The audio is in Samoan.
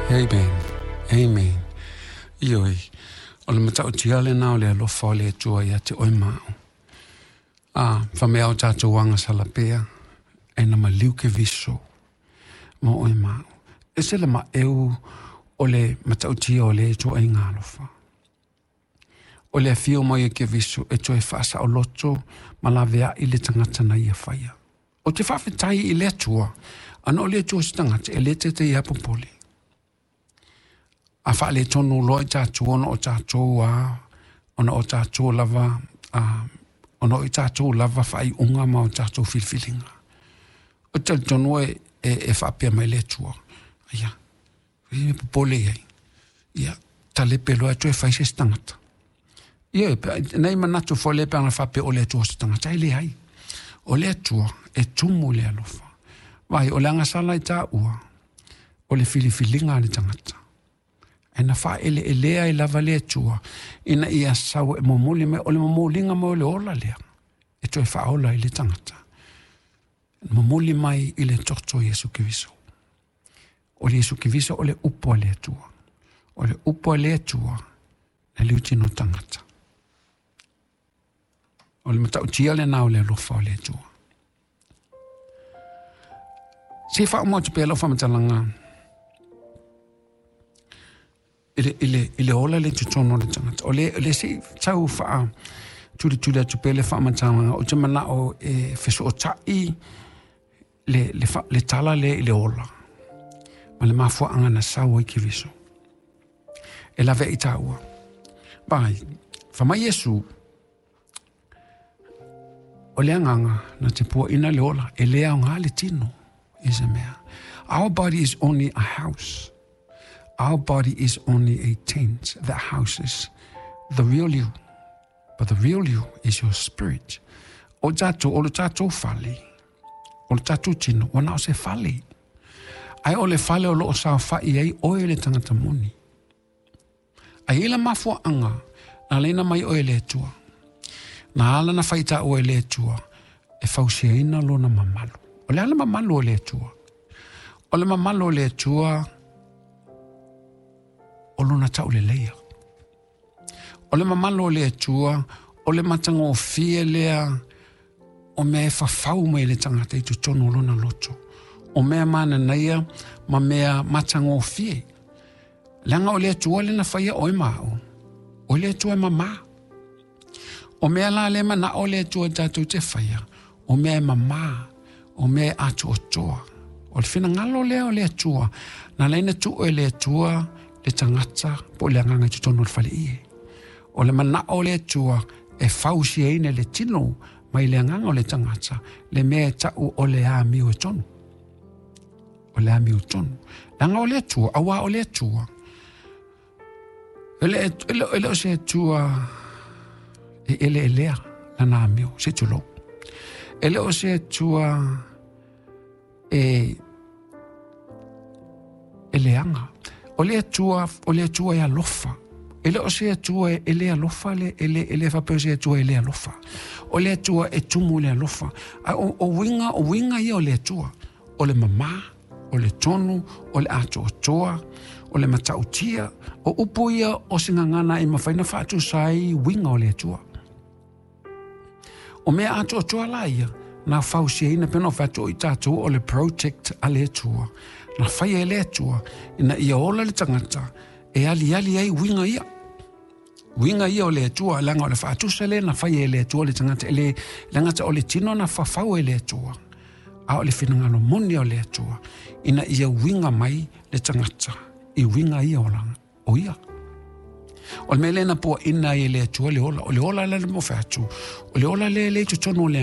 Amen. Amen. Ioe, o le matautia lena o le alofa o le Atua ia te oe ma au. A, whamea o tātou agasala pea, e na maliu Keriso mo oe ma au. E se le maeu o le matautia o le ituaiga alofa. O le afio mai o Keriso e toe faasaoloto ma laveai le tagata na ia faia. Ou te faafetai i le Atua, ana o le Atua se tagata e le taitai lava popole. A faaletonu loa i tatou ona o tatou a, ona o tatou lava, a, ona o i tatou lava faaiuga ma o tatou filifiliga. Ou te talitonu e, e, e faapea mai le Atua, ia, e popole i ai, ia, talepe loa e toe fai se isi tagata. Ia, nei manatu foi lea pe ana faapea o le Atua o se tagata, e leai. O le Atua e tumu i le alofa. Vai, o le agasala i taua, o le filifiliga a le tagata. Ae na faaeleelea ai lava le Atua ina ia sau e momoli mai, o le momoliga mai o le ola lea e toe faaola ai le tagata. Momoli mai i le toto o Iesu Keriso. O le Iesu Keriso o le upu a le Atua. O le upu a le Atua na liutino tagata. O le matautia lena o le alofa o le Atua. Se i faauma atu pea lau faamatalaga i le, i le, i le ola le totonu o le tagata. O le, le se i tau faa tulituli atu pea le faamatalaga, ou te manao e fesootai le, le, fa, le tala lea i le ola ma le mafuaaga na sau ai Keriso. E laveai i tāua. Vai, fai mai Iesu, o le agaga na te puaina le ola, e le aoga le tino i se mea. Our body is only a house. Our body is only a tent that houses the real you. But the real you is your spirit. O tātou, o le tātou fale, o le tātou tino, ua na o se fale. Ae o le fale o lo o saofai ai oe le tagata moni. A i ai le mafuaaga na alaina mai oe e le Atua. Na ala na fai taua e le Atua e fausiaina lona mamalu. O le a le mamalu o le Atua? O le mamalu o le Atua o lona tauleleia. O le mamalu o le Atua o le matagofie lea o mea e fafau mai le tagata i totonu o lona loto. O mea mananaia ma mea matagofie. Leaga o le Atua lea na faia oe ma au. O le Atua e mamā. O mea la lea manao le Atua tatou te faia, o mea e mamā, o mea e atoatoa. O le finagalo lea o le Atua, na ala ai ona tuu e le Atua le tagata po o le agaga i totonu o le faleie. O le manao o le Atua e fausiaina le tino mai le agaga o le tagata, le mea e tau o le amio e tonu. O le amiotonu. Leaga o le Atua, auā o le Atua. E le, e le, e le o se Atua e eleelea lana amio, se tulou. E le o se Atua e, e leaga. O le Atua, o le Atua e alofa. E le o se Atua e le alofa, le, e le, e le faapea o se Atua e le alofa. O le Atua e tumu i le alofa. A o, o uiga, o uiga ia o le Atua. O le mamā, o le tonu, o le atoatoa, o le matautia, o upu ia o se gagana e mafai ona faatusa ai uiga o le Atua. O mea atoatoa la ia, na fausiaina pei ona fai atu o i tatou o le project a le Atua, na faia e le Atua ina ia ola le tagata e aliali ai uiga ia. Uiga ia o le Atua, leaga o le faatusa lea na faia e le Atua le tagata, e le, leaga o le tino na fafau e le Atua, a o le finagalo moni o le Atua, ina ia uiga mai le tagata i uiga ia o lana, o ia. O le mea lea na puaina ai e le Atua le ola, o le ola lea na fai atu, o le ola lea e le i totonu o le